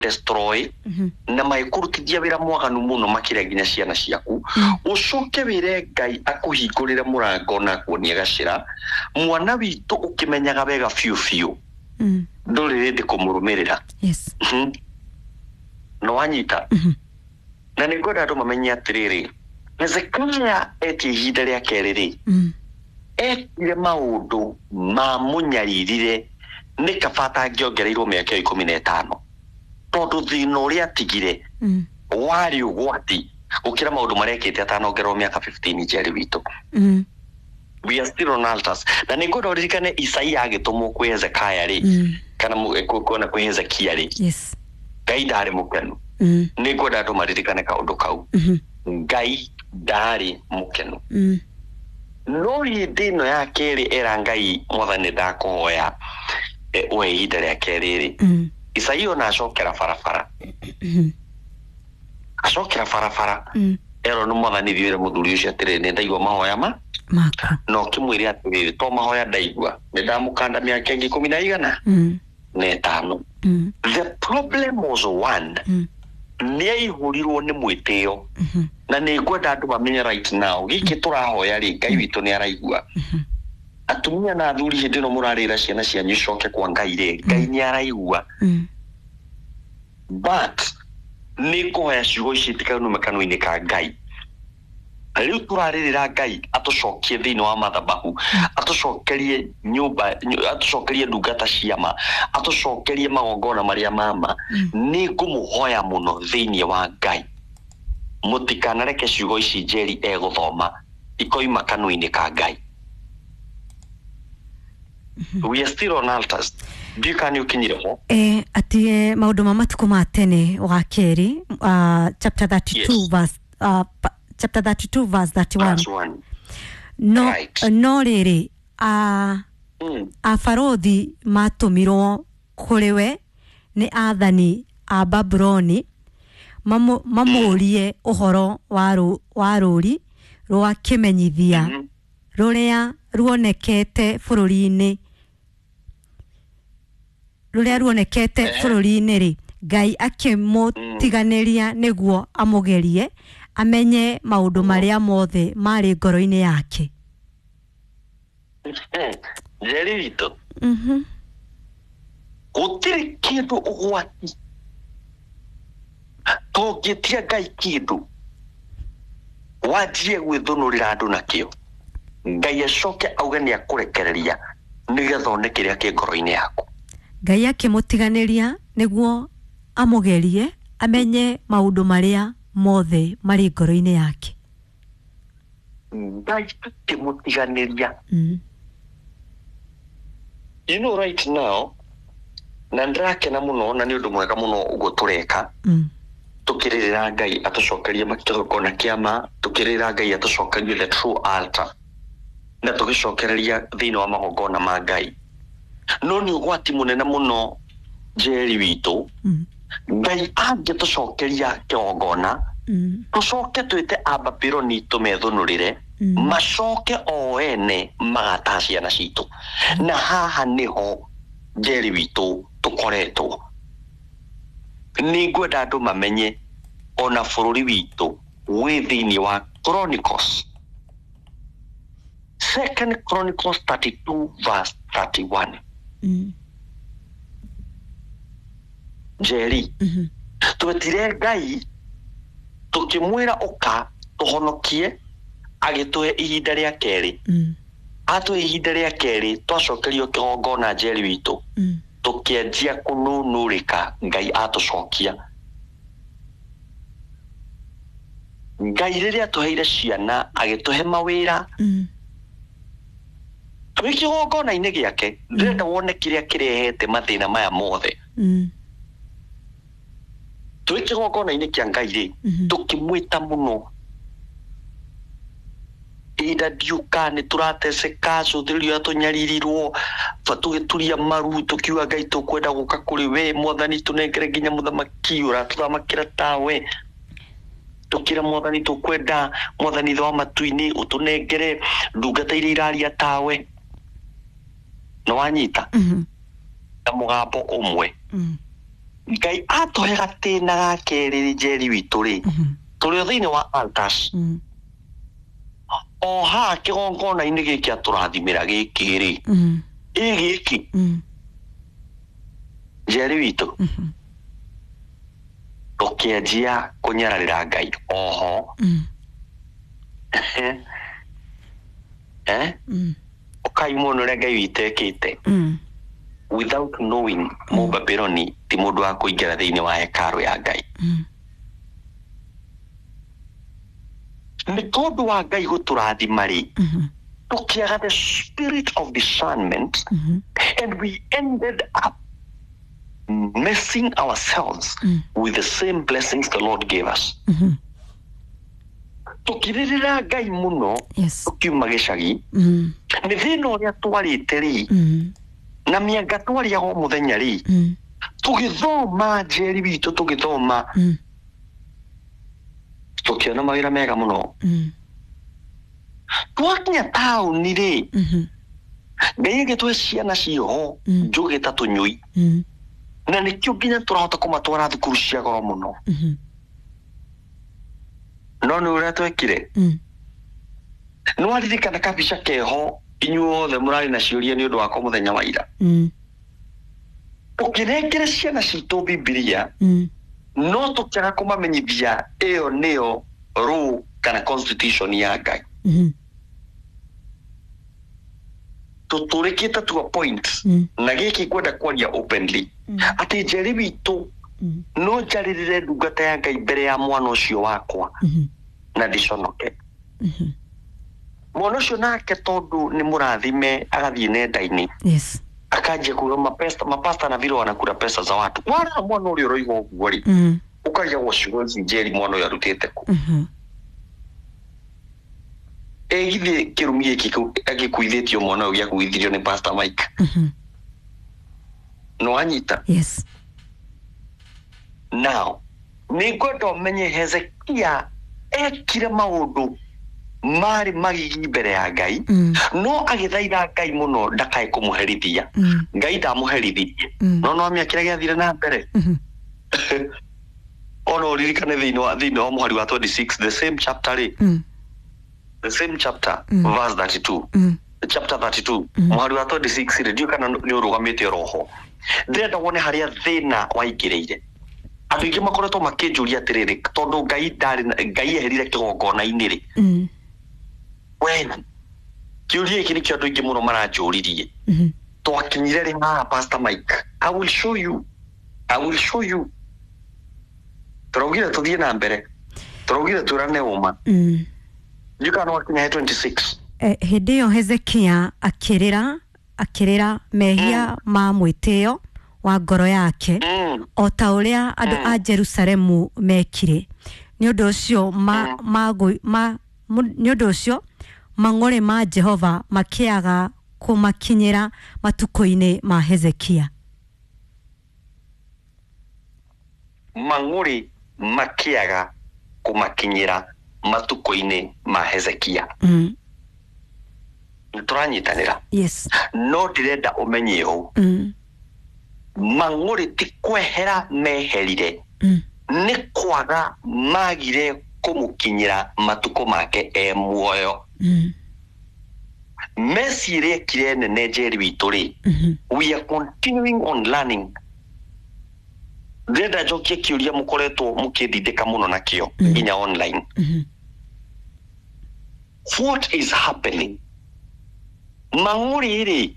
Destroy na magĩkũrutithia wĩra mwaganu mũno makĩria nginya ciana ciaku. Ũcoke wĩre Ngai akũhingũrĩre mũrango na akuonie gacĩra. Mwana witũ ũkĩmenyaga wega biũ biũ ndũrĩ rĩndĩ kũmũrũmĩrĩra. No wanyita. Na nĩ ngwenda andũ mamenye atĩrĩrĩ, Hezekiah etie ihinda rĩa kerĩ rĩ, ekire maũndũ mamũnyaririre. Nĩ kaba atangĩongereirwo mĩaka ĩyo 15, tondũ thĩna ũrĩa atigire warĩ ũgwati gũkĩra maũndũ marĩa ekĩte atanongererwo mĩaka 15. Njeri witũ, we are still on altars. Na nĩ ngwenda ũririkane Isaia agĩtũmwo kwĩ Hezekiah rĩ, kana kuona kwĩ Hezekia rĩ, Ngai ndarĩ mũkenu. Nĩ ngwenda andũ maririkane kaũndũ kau. Ngai ndarĩ mũkenu. No hĩndĩ ĩno ya kerĩ era Ngai, "Mwathani, ndakũhoya, ũhe ihinda rĩa kerĩ" rĩ, Isaia ona acokera barabara, acokera barabara, erwo nĩ Mwathani, "Thiĩ wĩre mũthuri ũcio atĩrĩrĩ, nĩ ndaigua mahoya ma maku." Na ũkĩmwĩre atĩrĩrĩ, to mahoya ndaigua, nĩ ndamũkanda mĩaka ĩngĩ ikũmi na igana na ĩtano. The problem was one, nĩ aihũrirwo nĩ mwĩtĩo. Na nĩ ngwenda andũ mamenye right now, gĩkĩ tũrahoya rĩ, Ngai witũ nĩ araigua. Atumia na athuri, hĩndĩ ĩno mũrarĩra ciana cianyu icoke kwa Ngai rĩ, Ngai nĩ araigua. But nĩ ngũhoya ciugo ici itikanume kanua-inĩ ka Ngai. Rĩu tũrarĩrĩra Ngai atũcokie thĩinĩ wa mathabahu, atũcokerie nyũmba, atũcokerie ndungata ciama, atũcokerie magongona marĩa mama. Nĩ ngũmũhoya mũno thĩinĩ wa Ngai, mũtikanareke ciugo ici Njeri egũthoma ikoima kanua-inĩ ka Ngai. We are still on altars. Ndiũĩ kana nĩ ũkinyire ho. Atĩ maũndũ ma matukũ ma tene wa kerĩ, chapter 32, verse, chapter 32 verse 31. Verse 1. No, no rĩrĩ, abarothi matũmirwo kũrĩ we nĩ athani a Babuloni mamũũrie ũhoro wa rũri rwa kĩmenyithia rũrĩa ruonekete bũrũri-inĩ, rũrĩa ruonekete bũrũri-inĩ rĩ, Ngai akĩmũtiganĩria nĩguo amũgerie amenye maũndũ marĩa mothe marĩ ngoro-inĩ yake. Njeri witũ, gũtirĩ kĩndũ ũgwati tũngĩtia Ngai kĩndũ wanjie gwĩthũnũrĩra andũ nakĩo, Ngai acoke auge nĩ akũrekereria nĩgetha one kĩrĩa kĩ ngoro-inĩ yaku. Ngai akĩmũtiganĩria nĩguo amũgerie amenye maũndũ marĩa mothe marĩ ngoro-inĩ yake. Ngai akĩmũtiganĩria. You know, right now, na ndĩrakena mũno na nĩ ũndũ mwega mũno ũguo tũreka, tũkĩrĩrĩra Ngai atũcokerie kĩgongona kĩama, tũkĩrĩrĩra Ngai atũcokerie the true altar, na tũgĩcokereria thĩinĩ wa magongona ma Ngai. No nĩ ũgwati mũnene mũno, Njeri witũ. Ngai angĩtũcokeria kĩgongona, tũcoke twĩte Ababironi tũmethũnũrĩre, macoke o ene magataha ciana citũ. Na haha nĩho, Njeri witũ, tũkoretwo. Nĩ ngwenda andũ mamenye ona bũrũri witũ wĩ thĩinĩ wa Chronicles, Second Chronicles 32 verse 31. Njeri, twetire Ngai tũkĩmwĩra ũka tũhonokie, agĩtũhe ihinda rĩa kerĩ. Atũhe ihinda rĩa kerĩ, twacokerio kĩgongona, Njeri witũ, tũkĩanjia kũnũnũrĩka. Ngai atũcokia, Ngai rĩrĩa atũheire ciana, agĩtũhe mawĩra, twĩ kĩgongona-inĩ gĩake. Ndĩrenda wone kĩrĩa kĩrehete mathĩna maya mothe. Twĩ kĩgongona-inĩ kĩa Ngai rĩ, tũkĩmwĩta mũno ihinda ndiũka nĩ tũrateceka cũthĩrĩrio tũnyaririrwo, tũgĩturia maru tũkiuga, "Ngai, tũkwenda gũka kũrĩ we. Mwathani, tũnengere nginya mũthamaki ũratũthamakĩra tawe." Tũkĩra Mwathani, tũkwenda Mwathani ithe wa matu-inĩ ũtũnengere ndungata iria iraria tawe. Nĩ wanyita? Na mũgambo ũmwe. Ngai atũhe gatĩna ga kerĩ Njeri witũ rĩ, tũrĩ o thĩinĩ wa altars, o haha kĩgongona-inĩ gĩkĩ atũrathimĩra gĩkĩ rĩ, ĩ gĩkĩ Njeri witũ, tũkĩanjia kũnyararĩra Ngai oho. Ũkai muone ũrĩa Ngai witũ ekĩte. Without knowing Mũbabĩroni ti mũndũ wa kũingĩra thĩinĩ wa hekarũ ya Ngai. Nĩ tondũ wa Ngai gũtũrathima rĩ, tũkĩaga the spirit of discernment, and we ended up messing ourselves with the same blessings the Lord gave us. Tũkĩrĩrĩra Ngai mũno, tũkiuma gĩcagi, nĩ thĩna ũrĩa twarĩte rĩ, na mĩanga twarĩaga o mũthenya rĩ, tũgĩthoma Njeri witũ, tũgĩthoma, tũkĩona mawĩra mega mũno. Twakinya taũni rĩ, Ngai agĩtũhe ciana ciĩho njũgĩ ta tũnyũi, na nĩkĩo nginya tũrahota kũmatwara thukuru cia goro mũno. No nĩ ũrĩa twekire, nĩ waririkana kabica keho inyuothe mũrarĩ na ciũria nĩ ũndũ wakwa mũthenya wa ira, tũkĩnengera ciana citũ Bibilia, no tũkĩaga kũmamenyithia ĩyo nĩyo law kana constitution ya Ngai. Tũtũrĩkĩte to a point, na gĩkĩ ngwenda kwaria openly, atĩ Njeri witũ, no njarĩrĩre ndungata ya Ngai mbere ya mwana ũcio wakwa na ndiconoke. Mwana ũcio nake tondũ nĩ mũrathime agathiĩ nenda-inĩ, akanjia kuga mapasta na vile wanakula pesa za watu. Warora mwana ũrĩa ũroiga ũguo rĩ, ũkarigagwo ciugo ici Njeri mwana ũyũ arutĩte kũ? Ĩ githĩ kĩrumi gĩkĩ agĩkuithĩtio mwana ũyũ gĩakuithirio nĩ Pastor Mike? Nĩ wanyita? Yes. Now nĩ ngwenda ũmenye Hezekia ekire maũndũ marĩ magigi mbere ya Ngai, no agĩthaitha Ngai mũno ndakae kũmũherithia. Ngai ndamũherithirie, no no amenya kĩrĩa gĩathire na mbere. Ona ũririkane thĩinĩ wa mũhari wa 26, the same chapter rĩ, the same chapter, verse 32, chapter 32 mũhari wa 26 rĩ, ndiũĩ kana nĩ ũrũgamĩte oroho. Ndĩrenda wone harĩa thĩna waingĩrĩire. Andũ aingĩ makoretwo makĩnjũria atĩrĩrĩ, tondũ Ngai ndarĩ, Ngai eherire kĩgongona-inĩ rĩ, we kĩũria gĩkĩ nĩkĩo andũ aingĩ mũno maranjũririe, twakinyire rĩ haha? Pastor Mike, I will show you, I will show you. Tũraugire tũthiĩ na mbere, tũraugire twĩrane ũma. Ndiũĩ kana wakinya he 26. Hĩndĩ ĩyo Hezekia akĩrĩra mehia ma mwĩtĩo wa ngoro yake, o ta ũrĩa andũ a Jerusalemu mekire. Nĩ ũndũ ũcio nĩ ũndũ ũcio mang'ũrĩ ma Jehova makĩaga kũmakinyĩra matukũ-inĩ ma Hezekia. Mang'ũrĩ makĩaga kũmakinyĩra matukũ-inĩ ma Hezekia. Nĩ tũranyitanĩra? Yes. No ndĩrenda ũmenye ũũ, mang'ũrĩ ti kwehera meherire, nĩ kwaga magire kũmũkinyĩra matukũ make e muoyo. Mesi ĩrĩa ĩkire nene Njeri witũ rĩ, we are continuing on learning. Ndĩrenda njokie kĩũria mũkoretwo mũkĩndindĩka mũno nakĩo nginya online: what is happening? Mang'ũrĩ rĩ,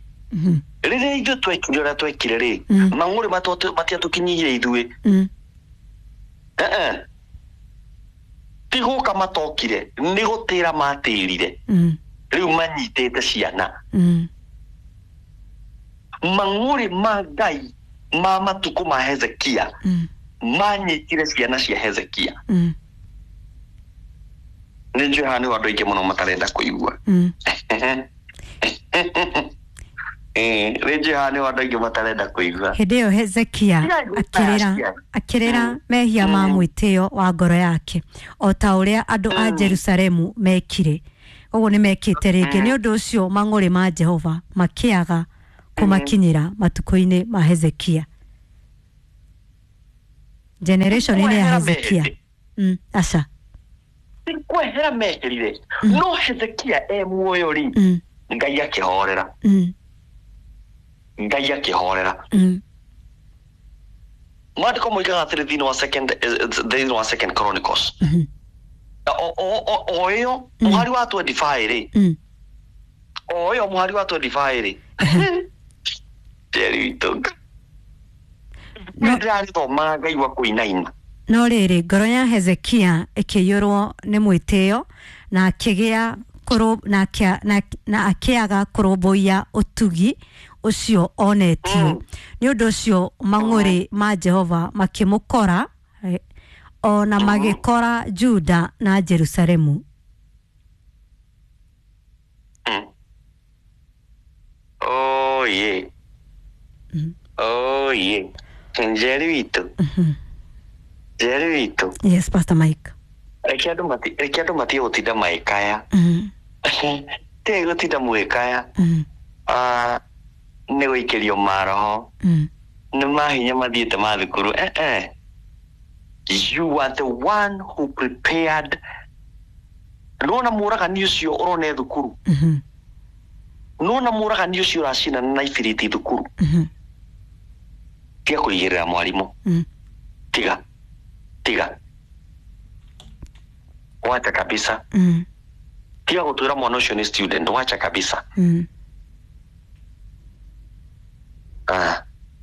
rĩrĩa ithuĩ twekire ũrĩa twekire rĩ, mang'ũrĩ matiatũkinyĩire ithuĩ. Eh-eh. Ti gũka matokire, nĩ gũtĩra matĩrire. Rĩu manyitĩte ciana. Mang'ũrĩ ma Ngai ma matukũ ma Hezekia manyitire ciana cia Hezekia. Nĩ njũĩ haha nĩho andũ aingĩ mũno matarenda kũigua. Nĩ njũĩ haha nĩho andũ aingĩ matarenda kũigua. Hĩndĩ ĩyo Hezekia akĩrĩra akĩrĩra mehia ma mwĩtĩo wa ngoro yake, o ta ũrĩa andũ a Jerusalemu mekire. Ũguo nĩ mekĩte rĩngĩ. Nĩ ũndũ ũcio mang'ũrĩ ma Jehova makĩaga kũmakinyĩra matukũ-inĩ ma Hezekia. Generation-inĩ ya Hezekia. Aca. Ti kwehera meherire. No Hezekia e muoyo rĩ, Ngai akĩhorera. Ngai akĩhorera. Maandĩko moigaga atĩrĩ thĩinĩ wa Second Chronicles. O ĩyo mũhari wa 25 rĩ. O ĩyo mũhari wa 25 rĩ. Jerry witũ. Nĩndĩrarĩthomaga ngaigua kũinaina. No rĩrĩ, ngoro ya Hezekia ĩkĩiyũrwo nĩ mwĩtĩo na akĩgĩa na akĩaga kũrũmbũiya ũtugi ũcio onetio. Nĩ ũndũ ũcio mang'ũrĩ ma Jehova makĩmũkora o na magĩkora Juda na Jerusalemu. Oh yeah. Oh yeah. Njeri witũ. Njeri witũ. Yes, Pastor Mike. Reke andũ matige gũtinda magĩkaya. Tigai gũtinda mũgĩkaya. Nĩ gũikĩrio maroho. Nĩ mahinya mathiĩte ma thukuru. You are the one who prepared. Nĩwona mũragani ũcio ũrona thukuru. Nĩwona mũragani ũcio ũracinana na ibiriti thukuru. Tiga kũigĩrĩra mwarimũ. Tiga. Tiga. Wacha kabisa. Tiga gũtwĩra mwana ũcio nĩ student. Wacha kabisa.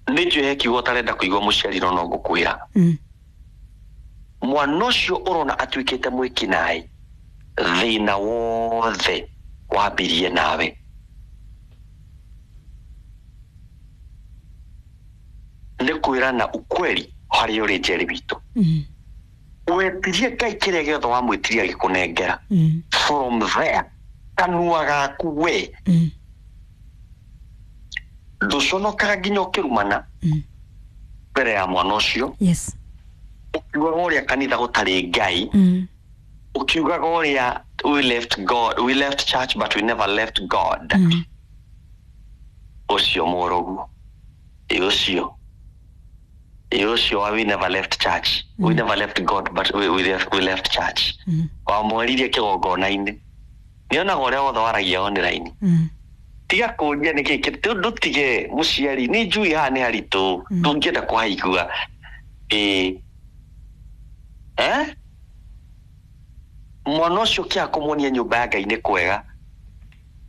Nĩ njũĩ he kiugo ũtarenda kũigua mũciari no no ngũkwĩra. Mwana ũcio ũrona atuĩkĩte mwĩkinaĩ, thĩna wothe wambirie nawe. Nĩ kwĩrana ukweli harĩa ũrĩ Njeri witũ. Wetirie Ngai kĩrĩa gĩothe wamwĩtirie agĩkũnengera. From there kanua gaku we ndũconokaga nginya ũkĩrumana mbere ya mwana ũcio. Yes. Ũkiugaga ũrĩa kanitha gũtarĩ Ngai. Ũkiugaga ũrĩa we left God, we left church but we never left God. Ũcio mũrogu. Ũcio. Ũcio wa we never left church. We never left God but we left church. Wamwaririe kĩgongona-inĩ. Nĩonaga ũrĩa wothe waragia online. Tiga kũũria nĩkĩ ndũtige mũciari nĩ njũĩ haha nĩ haritũ ndũngĩenda kũhaigua. Mwana ũcio ũkĩaga kũmuonia nyũmba ya Ngai nĩ kwega,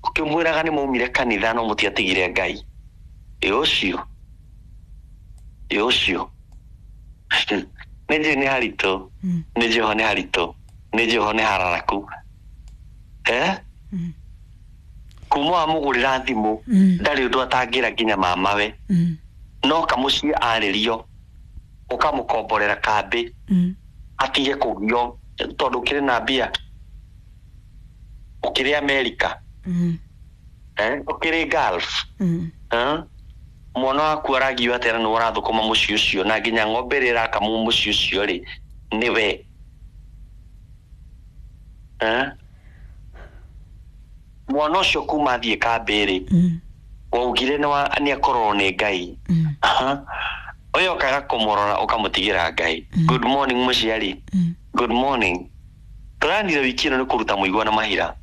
ũkĩmwĩraga nĩ maumire kanitha no mũtiatigire Ngai. Ũcio. Ũcio. Nĩ njũĩ nĩ haritũ. Nĩ njũĩ ho nĩ haritũ. Nĩ njũĩ ho nĩ hararaku. Kuma wamũgũrĩra thimũ ndarĩ ũndũ atangĩra nginya mamawe. No kamũciĩ arĩrio ũkamũkomborera kambĩ atige kũgio tondũ ũkĩrĩ na mbia ũkĩrĩ America. Ũkĩrĩ Gulf. Mwana waku aragio atĩa na nĩwe ũrathũkũma mũciĩ ũcio na nginya ng'ombe ĩrĩa ĩrakamwo mũciĩ ũcio rĩ nĩwe. Mwana ũcio kuma athiĩ kambĩ rĩ waugire nĩ akororwo nĩ Ngai. Ũyũ ũkaga kũmũrora ũkamũtigĩra Ngai. Good morning mũciari. Good morning. Tũranire wiki ĩno nĩ kũruta mũigua na mahira.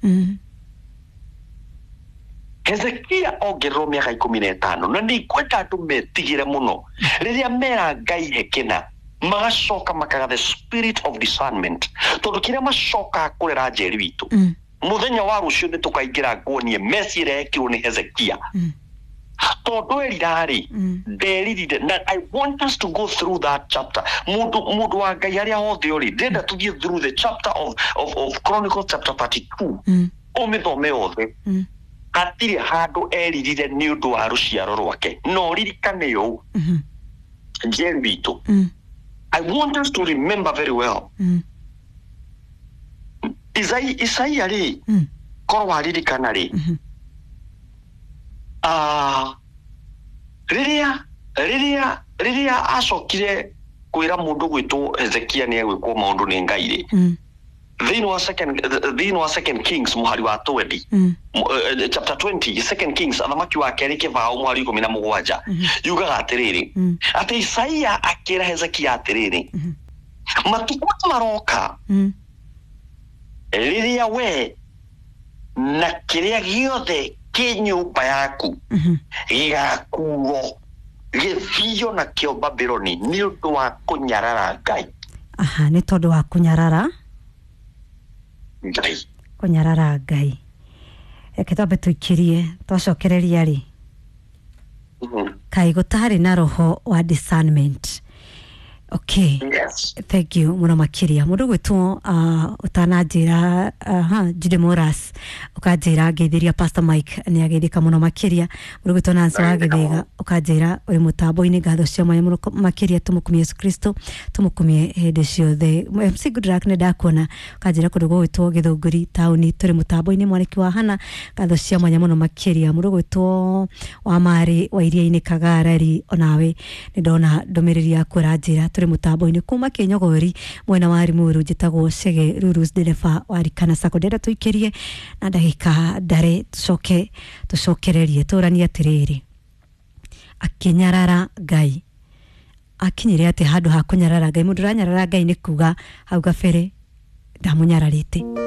Hezekia ongererwo mĩaka 15 na nĩ ngwenda andũ metigĩre mũno rĩrĩa mera Ngai he kĩna magacoka makaga the spirit of discernment tondũ kĩrĩa macokaga kũrera Njeri witũ mũthenya wa rũciũ nĩ tũkaingĩra nguonie mesi ĩrĩa yekirwo nĩ Hezekia. Tondũ erira rĩ nderirire na I want us to go through that chapter. Mũndũ wa Ngai harĩa hothe ũrĩ ndĩrenda tũthiĩ through the chapter of Chronicles chapter 32. Ũmĩthome yothe. Hatirĩ handũ eririre nĩ ũndũ wa rũciaro rwake. No ririkane ũũ Njeri witũ. I want us to remember very well. Isaia rĩ korwo waririkana rĩ rĩrĩa acokire kwĩra mũndũ gwĩtwo Hezekia nĩ egwĩkwo maũndũ nĩ Ngai rĩ Thĩinĩ wa Second Kings mũhari wa 20, chapter 20, Second Kings, athamaki wa kerĩ kĩbaũ mũhari 17, yugaga atĩrĩrĩ, atĩ Isaia akĩra Hezekia atĩrĩrĩ, matukũ maroka rĩrĩa we na kĩrĩa gĩothe kĩ nyũmba yaku gĩgakuo gĩthio nakĩo Babuloni nĩ ũndũ wa kũnyarara Ngai. Aha, nĩ tondũ wa kũnyarara Ngai. Kũnyarara Ngai. Reke twambe tũikĩrie, twacokereria rĩ, kaĩ gũtarĩ na roho wa discernment. Okay. Yes. Thank you mũno makĩria. Mũndũ gwĩtwo ũtananjĩra, Jude Moras, ũkanjĩra ngeithĩria Pastor Mike, nĩ ageithĩka mũno makĩria. Mũndũ gwĩtwo Nancy wa Gĩthĩga, ũkanjĩra ũrĩ mũtambo-inĩ, ngatho cia mwanya mũno makĩria, tũmũkumie Yesu Kristo, tũmũkumie hĩndĩ ciothe. MC Goodluck, nĩ ndakuona, ũkanjĩra kũndũ gũgwĩtwo Gĩthũngũri taũni, tũrĩ mũtambo-inĩ. Mwaniki wa Hana, ngatho cia mwanya mũno makĩria. Mũndũ gwĩtwo wa Marĩ wa Iria-inĩ Kagarari, onawe nĩ ndona ndũmĩrĩri yaku, ũranjĩra tũrĩ mũtambo-inĩ kuma Kĩnyogori mwena wa Limuru. Njĩtagwo Chege Rurus, ndereba wa Rikana Sacco. Ndĩrenda tũikĩrie na ndagĩka ndare, tũcoke tũcokererie tũranie atĩrĩrĩ, akĩnyarara Ngai akinyire atĩ handũ ha kũnyarara Ngai? Mũndũ ũranyarara Ngai nĩ kuga hau gabere ndamũnyararĩte.